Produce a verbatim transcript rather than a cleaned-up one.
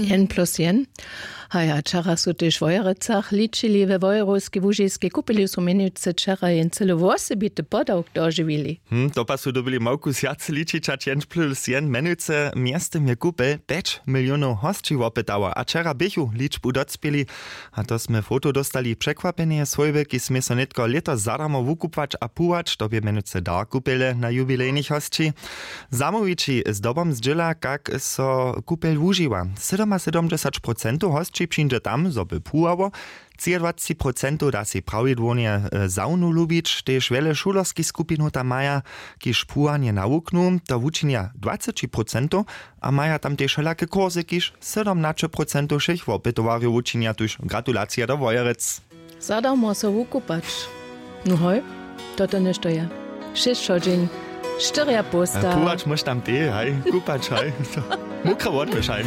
Jen plus jen. Haja, wčera su tež w Wojerecach ličili. We Wojerowskej Łužiskej kupelu su mjenujcy wčera jen cyle wosebity podawk dožiwili. Hm, to pa su dyrbili małku swjace ličić hač jen plus jen. Mjenujcy mjeztym je kupel pjeć milionow hosći wopytało a wčera běchu ličbu docpěli. A to smy foto dóstali překwapjenje swójby kiž smě so nětko lěto zadarmo wukubłać a płuwać to bě mjenujcy dar kupele na jubilejnych hosći. Zamołwići zdobom zdźěla kak so kupel wužiwa. Sydomasydomdźesać procentow hosći přińdźe tam zo by płuwało. Třiadwaceći procentow da sej prawidłownje zawnu lubić tež wjele šulerskich skupinow tam maja, kiž płuwanje nawuknu to wučinja dwaceći procentow. A maja tam tež wšelake kursy kiž sydomnaće procentow wšěch wopytowarjow wučinja tuž gratulacija do wojerec. Zadarmo so wukupać. No hoj, to to něšto je. Šěsćo dźeń. Štyrja połsta. Płuwać móš tam tej haj kupać haj. Mokre wotwyšaj.